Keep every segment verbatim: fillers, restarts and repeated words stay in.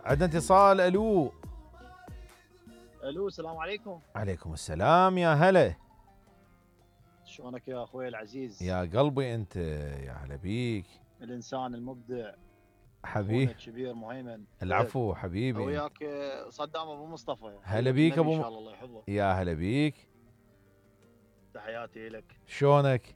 عندنا اتصال. الو الو السلام عليكم. عليكم السلام يا هلا. شلونك يا اخوي العزيز؟ يا قلبي انت، يا هلا بيك. الانسان المبدع حبيبي الكبير مهيمن. العفو حبيبي. وياك صدام ابو مصطفى. هلا بيك ابو ان شاء الله الله يحفظه. يا هلا بيك. تحياتي لك. شلونك؟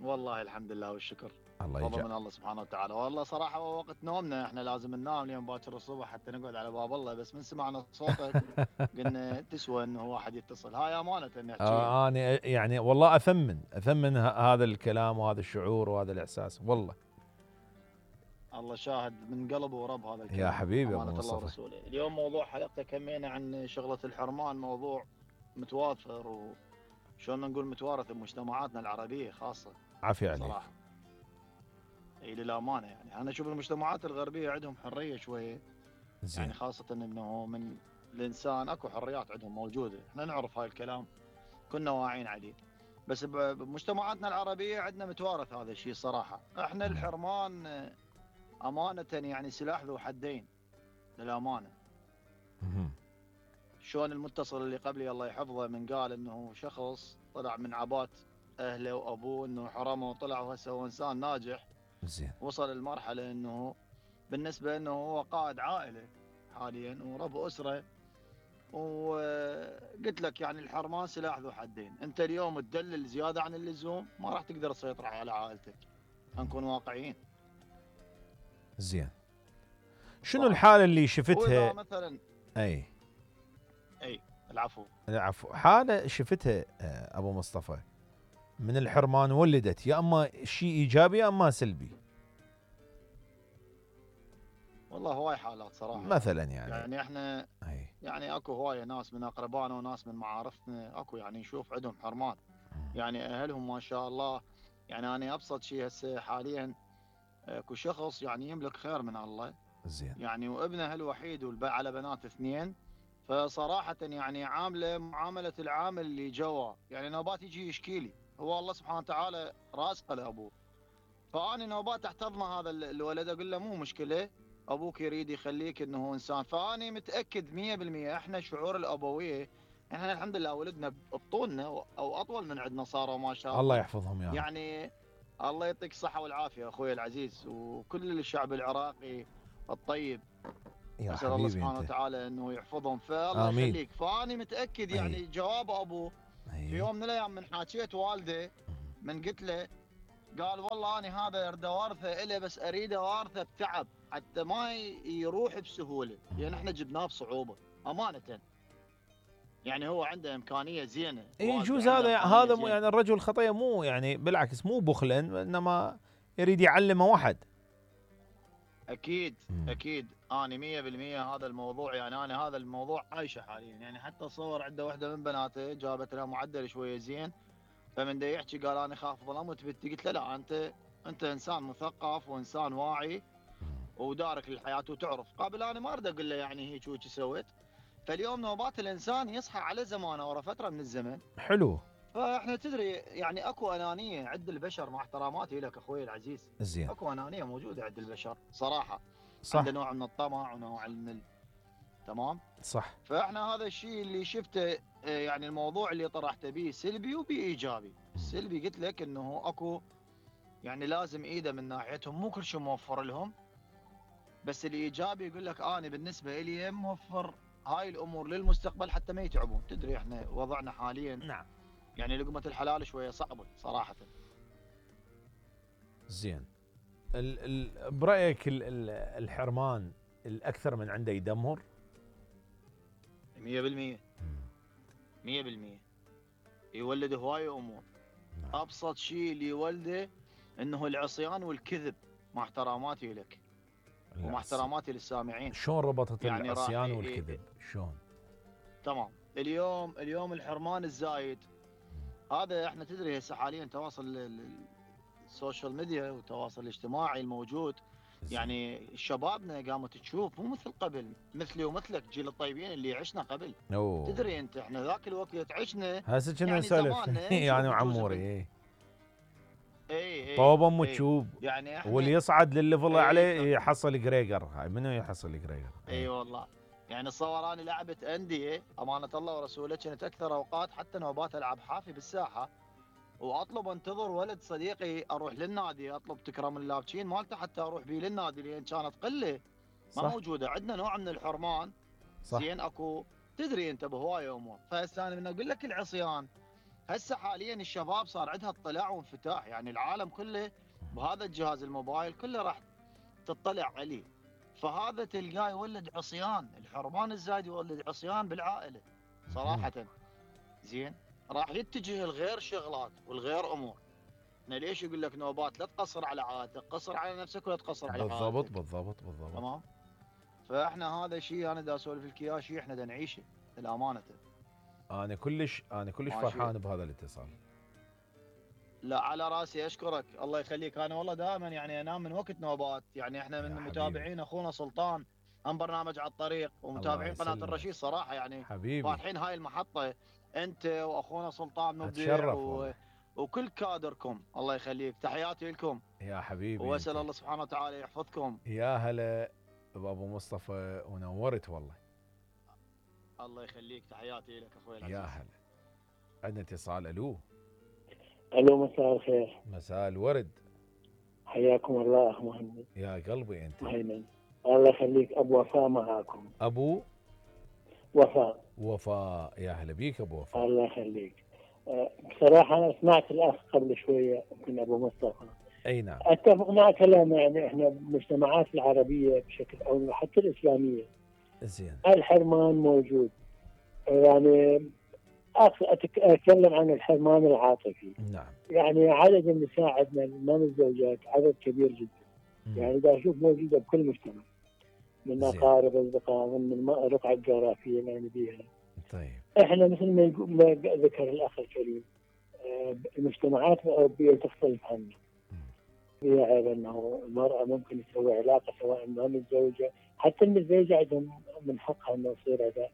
والله الحمد لله والشكر. الله فضل يجزاك. من الله سبحانه وتعالى. والله صراحه وقت نومنا احنا لازم ننام اليوم باكر الصبح حتى نقعد على باب الله، بس من سمعنا صوتك قلنا تسوى انه واحد يتصل. هاي امانه نحكي. آه انا يعني والله اثمن اثمن هذا الكلام وهذا الشعور وهذا الاحساس والله. الله شاهد من قلب ورب هذا الكلام. يا حبيبي ابو امانه الله مصطفى. ورسوله. اليوم موضوع حلقتك همينا عن شغله الحرمان، موضوع متوافر وشلون نقول متوارث بمجتمعاتنا العربيه خاصه. عافيه عليك. صراحه اي للامانه يعني انا اشوف المجتمعات الغربيه عندهم حريه شويه. زين. يعني خاصه انه من الانسان اكو حريات عندهم موجوده، احنا نعرف هاي الكلام كنا واعيين عليه. بس بمجتمعاتنا العربيه عندنا متوارث هذا الشيء صراحه. احنا الحرمان امانه يعني سلاح ذو حدين للامانه. شلون المتصل اللي قبلي الله يحفظه من قال انه شخص طلع من عبات اهله وابوه انه حرمه وطلع وهسه هو انسان ناجح. زين. وصل لمرحله انه بالنسبه انه هو قائد عائله حاليا ورب اسره. وقلت لك يعني الحرمان سلاح ذو حدين، انت اليوم تدلل زياده عن اللزوم ما راح تقدر تسيطر على عائلتك. نكون واقعيين. زين. شنو الحاله اللي شفتها مثلا؟ اي اي العفو. العفو. حاله شفتها ابو مصطفى من الحرمان ولدت يا اما شيء ايجابي يا اما سلبي. والله هواي حالات صراحه. مثلا يعني يعني احنا أي. يعني اكو هوايه ناس من اقربائنا وناس من معارفنا اكو يعني نشوف عندهم حرمان. يعني اهلهم ما شاء الله. يعني انا ابسط شيء هسه حاليا اكو شخص يعني يملك خير من الله. زين. يعني وابنه الوحيد على بنات اثنين. فصراحه يعني عامله معامله العامل اللي جوا، يعني نوبات يجي يشكي لي، هو الله سبحانه وتعالى رازقه لابوه. فاني نوبات احتضن هذا الولد اقول له مو مشكله، ابوك يريد يخليك انه هو انسان. فاني متاكد مية بالمية احنا شعور الابويه، احنا الحمد لله ولدنا بطولنا او اطول من عندنا صاروا ما شاء الله. الله يحفظهم يا رب. يعني الله يعطيك الصحه والعافيه اخوي العزيز وكل الشعب العراقي الطيب. يا اسال الله سبحانه وتعالى انه يحفظهم. فالله يخليك. فاني متاكد يعني أي. جواب ابوه أي. في يوم من الايام من حاكيت والده من قلت له قال والله انا هذا اريد وارثه اله بس اريد وارثه بتعب حتى ما يروح بسهوله، لان يعني احنا جبناه بصعوبه امانه. يعني هو عنده امكانيه زينه. يجوز هذا هذا مو يعني الرجل الخطيه مو يعني بالعكس مو بخلا، انما يريد يعلمه واحد. اكيد مم. اكيد انا مية بالمية هذا الموضوع. يعني انا هذا الموضوع عايشه حاليا. يعني حتى صور عنده واحده من بناته جابت لها معدل شويه زين، فمن دا يحكي قال انا خاف ظلمت بنتي. قلت له لا انت انت انسان مثقف وانسان واعي ودارك للحياه وتعرف. قبل انا ما اريد اقول له يعني هيك وهيك سويت. فاليوم نوبات الانسان يصحى على زمانه ورا فتره من الزمن. حلو. فاحنا تدري يعني اكو انانيه عند البشر، مع احتراماتي لك اخوي العزيز. زين. اكو انانيه موجوده عند البشر صراحه. صح. عنده نوع من الطمع ونوع من ال... تمام. صح. فاحنا هذا الشيء اللي شفته يعني الموضوع اللي طرحته به سلبي وبايجابي. السلبي قلت لك انه اكو يعني لازم ايده من ناحيتهم مو كل شيء موفر لهم. بس الايجابي يقول لك انا بالنسبه لي موفر هاي الامور للمستقبل حتى ما يتعبون. تدري احنا وضعنا حاليا نعم يعني لقمه الحلال شويه صعبه صراحه. زين. ال ال برايك ال ال الحرمان الاكثر من عنده يدمر؟ مية بالمية مية بالمية يولد هواي امور. نعم. ابسط شيء اللي يولده انه العصيان والكذب. مع احتراماتي لك ومع احتراماتي للسامعين. شلون ربطت يعني العصيان والكذب؟ شلون؟ تمام. اليوم اليوم الحرمان الزايد هذا احنا تدري هسه حاليا تواصل السوشيال ميديا والتواصل الاجتماعي الموجود. يعني شبابنا قامت تشوف مو مثل قبل، مثلي ومثلك جيل الطيبين اللي عشنا قبل. أوه. تدري انت احنا ذاك الوقت عشنا هسه كنا نسولف يعني وعموري. اي اي طوب ام اي تشوب. يعني احنا واللي يصعد للليفل اي عليه يحصل جريجر. هاي منو يحصل جريجر؟ اي اي والله. يعني تصور اني لعبت انديه امانه الله ورسوله، كانت اكثر اوقات حتى نوبات العب حافي بالساحه، واطلب انتظر ولد صديقي اروح للنادي، اطلب تكرم اللابتشين مالته حتى اروح بيه للنادي، لان كانت قله ما صح موجوده عندنا نوع من الحرمان. صح. زين اكو تدري انت بهوايه امور. فهسه انا من اقول لك العصيان، هسه حاليا الشباب صار عندها اطلاع وانفتاح، يعني العالم كله بهذا الجهاز الموبايل كله راح تطلع عليه. فهذا تلقاه يولد عصيان، الحرمان الزايد يولد عصيان بالعائله صراحه. زين راح يتجه الغير شغلات والغير امور. انا ليش يقول لك نوبات؟ لا تقصر على عائلتك، قصر على نفسك ولا تقصر على بالضبط عائلتك. بالضبط بالضبط. تمام. فاحنا هذا شيء انا دا اسولف لك اياه، شيء احنا دا نعيشه للامانه. انا كلش انا كلش ماشي. فرحان بهذا الاتصال. لا على راسي، اشكرك الله يخليك. انا والله دائما يعني انام من وقت نوبات، يعني احنا يا من حبيبي متابعين اخونا سلطان هم برنامج على الطريق، الله ومتابعين قناه يسلمك الرشيد صراحه، يعني حبيبي. فاتحين هاي المحطه انت واخونا سلطان مبدع اتشرف و... والله. وكل كادركم الله يخليك، تحياتي لكم. يا حبيبي واسال انت. الله سبحانه وتعالى يحفظكم. يا هلا بابو مصطفى ونورت والله. الله يخليك، تحياتي لك اخوي العزيز. يا هلا. عندنا اتصال. الو. الو مساء الخير. مساء الورد. حياكم الله اخ مهند. يا قلبي انت. مهيمن الله يخليك. ابو وفاء معاكم. ابو وفاء. وفاء. يا هلا بيك ابو وفاء. الله يخليك. أه، بصراحه انا سمعت الاخ قبل شويه يمكن ابو مصطفى، اي نعم. اتفق مع كلامه. يعني احنا بالمجتمعات العربيه بشكل او حتى الاسلاميه زين. الحرمان موجود. يعني أخ- أتك- اتكلم عن الحرمان العاطفي. نعم. يعني عدد النساء عندنا من الزوجات عدد كبير جدا. مم. يعني دا اشوف موجوده بكل مجتمع، من زين. اقارب اصدقاء من الم- الرقعه الجغرافيه اللي يعني بيها. طيب. احنا مثل ما يقو- ما ذكر الاخ الكريم، آه، المجتمعات الاوروبيه تختلف عنا. فيها عيب انه المراه ممكن تسوي علاقه سواء ما متزوجه، حتى المتزوجه عندهم من حقها انه يصير هذا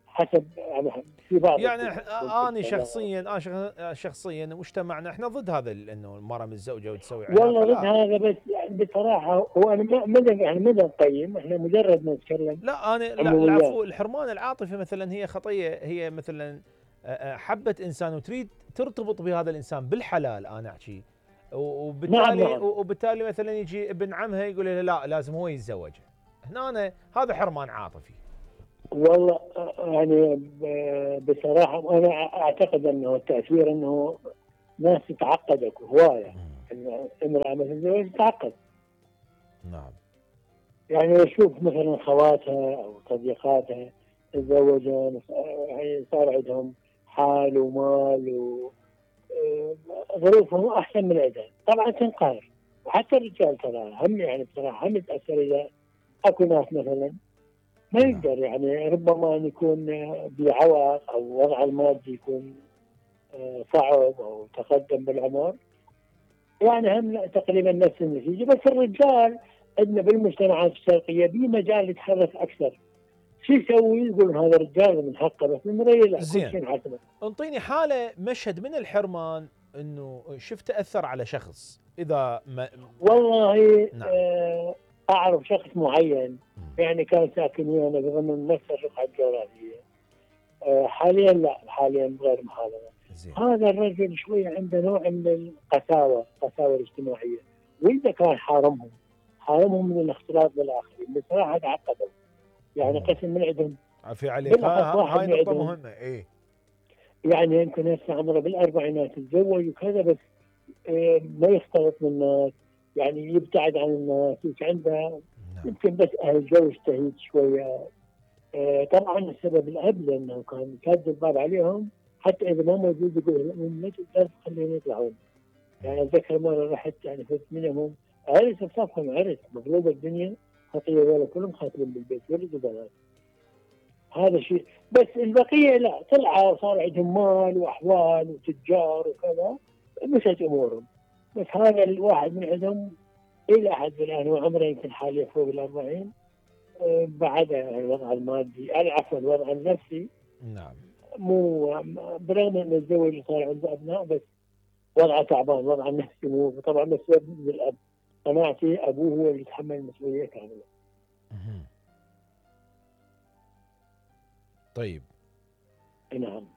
حسب يعني في بعض يعني الدول إح- ممكن انا كذا. شخصيا انا شخ- شخصيا مجتمعنا احنا ضد هذا ال- انه المراه متزوجه وتسوي والله علاقه. ضد لا هذا، بس يعني بصراحه هو انا ما ما يعني ما نقيم، احنا مجرد نتكلم. لا انا لا أمويات. العفو. الحرمان العاطفي مثلا هي خطيه، هي مثلا آه، آه، حبت انسان وتريد ترتبط بهذا الانسان بالحلال. انا احكي و- وبالتالي نعم نعم. وبالتالي مثلا يجي ابن عمها يقول لها لا لازم هو يتزوجها. هنا أنا هذا حرمان عاطفي. والله يعني ب- بصراحة أنا أعتقد أنه التأثير أنه ناس تتعقد أكو هواية. إن امرأة مثل زوج تتعقد. نعم. يعني أشوف مثلا خواتها أو صديقاتها تزوجن، يعني صار عندهم حال ومال وظروفهم أحسن من عندها، طبعا تنقهر. وحتى الرجال ترى هم يعني بصراحة هم يتأثر إذا أكو ناس مثلا ما يقدر، يعني ربما أن يكون بعوق أو وضعه المادي يكون صعب أو تقدم بالعمر، يعني هم تقريبا نفس النتيجة. بس الرجال عندنا بالمجتمعات الشرقية بمجال يتحرك أكثر. شو يسوي؟ يقول هذا الرجال من حقه، بس المرأة لا، كل زين. شيء حسبه. انطيني حالة مشهد من الحرمان انه شفت أثر على شخص إذا ما. والله نعم. آه أعرف شخص معين يعني كان ساكن ويانا بضمن نفس الرقعة الجغرافية. آه حاليا لا، حاليا غير محافظة. زين. هذا الرجل شوية عنده نوع من القساوة، القساوة الاجتماعية، وإذا كان حارمهم حارمهم من الاختلاط بالآخرين بصراحة تعقدوا. يعني مم. قسم من عندهم عفي عليك. ها واحد هاي من نقطة عندهم مهمة. ايه يعني يمكن هسه عمره بالأربعينات تتزوج وكذا، بس آه ما يختلط بالناس، يعني يبتعد عن الناس، يمكن عنده نعم. يمكن بس أهل جو يجتهد شوية. آه طبعا السبب الأب لأنه كان كاد الباب عليهم، حتى إذا ما موجود يقول لهم لا تقدر خليهم يطلعون. يعني أتذكر مرة رحت يعني فزت منهم عرس بصفهم، عرس مغلوبة الدنيا، خطية ولا كلهم خاتمين بالبيت ولد وبنات. هذا شيء. بس البقية لا، طلعوا وصار عندهم مال وأحوال وتجار وكذا، مشت أمورهم. بس هذا الواحد من عندهم إلى حد الآن وعمره يمكن حاليا فوق الأربعين، آه، بعد الوضع المادي عفوا الوضع النفسي نعم. مو برغم انه الزوج صار عنده ابناء، بس وضعه تعبان، وضعه النفسي مو طبعا مسؤول من الاب. قناعتي ابوه هو اللي يتحمل المسؤوليه كامله. مهم. طيب نعم.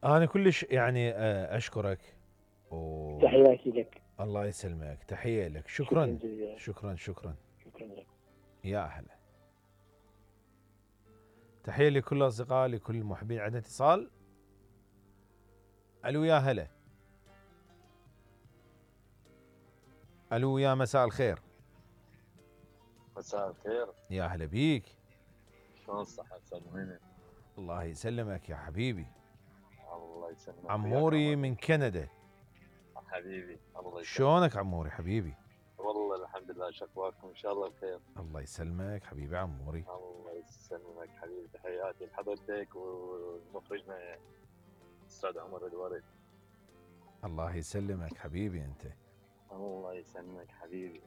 انا كلش يعني آه، اشكرك و... تحياتي لك. الله يسلمك، تحيه لك، شكرا شكرا جزيلا. شكرا شكرا. شكرا لك. يا اهلا، تحيه لكل الاصدقاء، لكل المحبين. عندنا اتصال. الو يا هلا. الو يا مساء الخير. مساء الخير. يا هلا بيك. شلون الصحة استاذ مهند؟ الله يسلمك يا حبيبي. الله يسلمك. عموري من كندا. حبيبي الله يسلمك. شلونك عموري حبيبي؟ والله الحمد لله، شكواكم ان شاء الله بخير. الله يسلمك حبيبي عموري. الله يسلمك حبيبي، تحياتي لحضرتك ومخرجنا الاستاذ عمر الورد. الله يسلمك حبيبي انت. الله يسلمك حبيبي.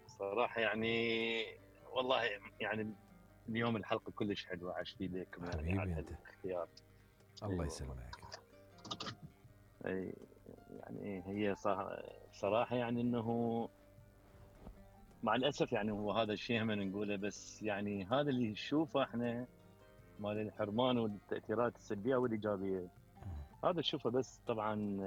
صراحة يعني والله يعني اليوم الحلقة كلش حلوة، عشتي لكم يعني حبيبي على انت. الاختيار. الله أيوة. يسلمك. اي يعني هي صراحة يعني انه مع الاسف يعني هو هذا الشيء هم نقوله، بس يعني هذا اللي نشوفه احنا مال الحرمان والتاثيرات السلبيه والايجابيه، هذا نشوفه. بس طبعا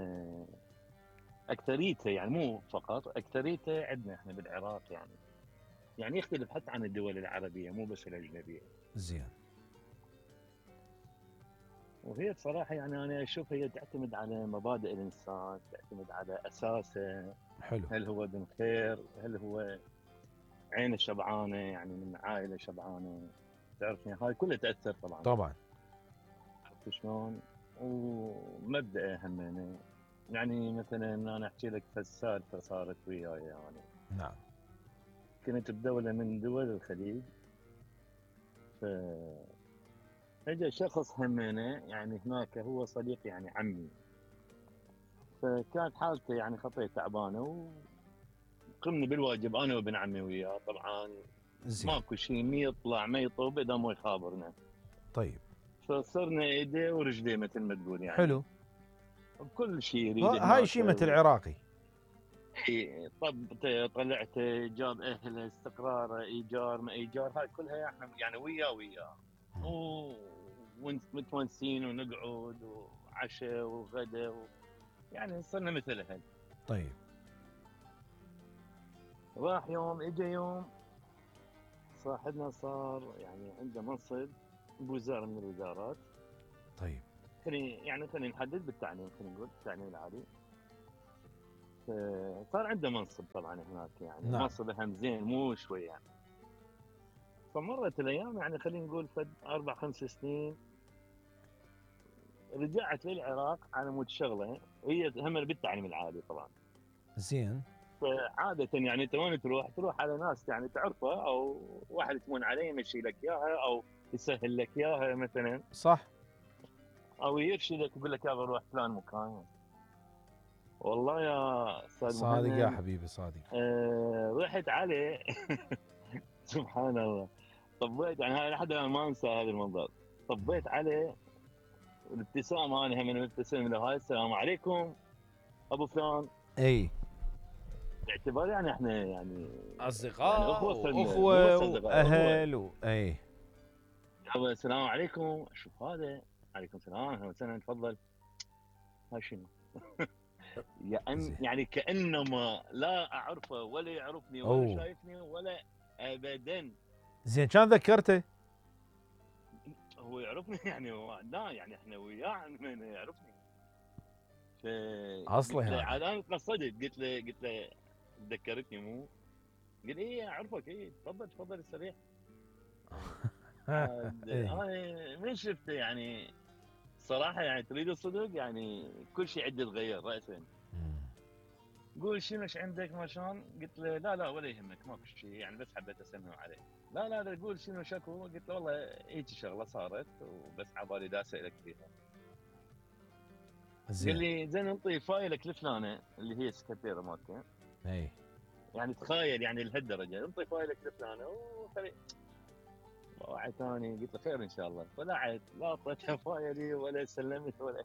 اكثريته يعني مو فقط، اكثريته عندنا احنا بالعراق يعني يعني يختلف حتى عن الدول العربيه مو بس الاجنبيه. زين. وهي بصراحه يعني انا اشوف هي تعتمد على مبادئ الانسان، تعتمد على اساسه. حلو. هل هو ابن خير؟ هل هو عينه شبعانه يعني من عائله شبعانه؟ تعرفني هاي كلها تاثر طبعا. طبعا. عرفت شلون؟ ومبدأ همينه يعني مثلا انا احكي لك سالفه صارت وياي يعني. نعم. كنت بدوله من دول الخليج، ف اجى شخص همينه يعني هناك هو صديق يعني عمي، فكانت حالته يعني خطيه تعبانه وقمنا بالواجب انا وابن عمي وياه. طبعا زين. ماكو شيء، ما يطلع ما يطوب اذا مو يخابرنا. طيب. فصرنا ايديه ورجليه مثل ما تقول يعني. حلو. بكل شيء يريد ها- هاي شيمة العراقي. اي طب طلعت جاب اهله، استقراره، ايجار ما ايجار، هاي كلها احنا يعني وياه وياه ومتونسين ونقعد وعشاء وغدا و... يعني صرنا مثل اهل. طيب. راح يوم اجى يوم صاحبنا صار يعني عنده منصب بوزاره من الوزارات. طيب. خلينا يعني خلينا نحدد بالتعليم، خلينا نقول التعليم العالي. صار عنده منصب طبعا هناك يعني. نعم. منصب هم زين مو شوي يعني. فمرت الايام يعني خلينا نقول فد اربع خمس سنين رجعت للعراق على مود شغله هي هم بالتعليم العالي طبعا. زين. فعاده يعني انت وين تروح؟ تروح على ناس يعني تعرفه او واحد تمون عليه يمشي لك اياها او يسهل لك اياها مثلا. صح. او يرشدك يقول لك يلا روح فلان مكان. والله يا استاذ صادق مهند يا حبيبي صادق. آه رحت عليه سبحان الله. طبيت يعني هاي لحد الان ما انسى هذا المنظر. طبيت عليه الابتسامه، انا هم من ابتسم له هاي السلام عليكم ابو فلان. اي. باعتبار يعني احنا يعني اصدقاء يعني اخوه واخوه واهل و... اي. يابا السلام عليكم، اشوف هذا عليكم السلام اهلا وسهلا تفضل. هاي شنو؟ يعني يعني كانما لا اعرفه ولا يعرفني ولا أوه. شايفني ولا ابدا. زين كان ذكرته؟ هو يعرفني يعني هو لا يعني احنا وياه من يعرفني. ف اصلي هذا هذا. عاد انا تقصدت قلت له قلت له ذكرتني مو؟ قال ايه اعرفك ايه تفضل تفضل استريح. انا من شفته يعني صراحه يعني تريد الصدق يعني كل شيء عندي تغير راسا. قول شنو ايش عندك ما شلون؟ قلت له لا لا ولا يهمك ماكو شيء يعني بس حبيت اسلم عليه. لا لا لا قول شنو شكو؟ قلت له والله هيك شغله صارت وبس عبالي دا اسالك فيها. زين. قال لي زين انطي فايلك لفلانه اللي هي سكرتيره مالته. اي. يعني تخيل يعني لهالدرجه انطي فايلك لفلانه وخلي وعد ثاني. قلت له خير ان شاء الله. طلعت لا اعطيتها فايلي ولا سلمت ولا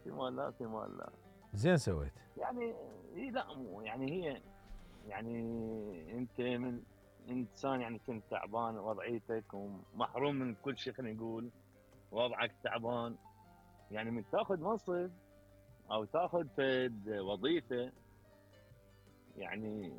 في مال لا في مال لا. زين سويت. يعني هي لا مو يعني هي يعني انت من انسان يعني كنت تعبان وضعيتك ومحروم من كل شيء، خلينا نقول وضعك تعبان، يعني من تاخذ منصب او تاخذ فد وظيفه يعني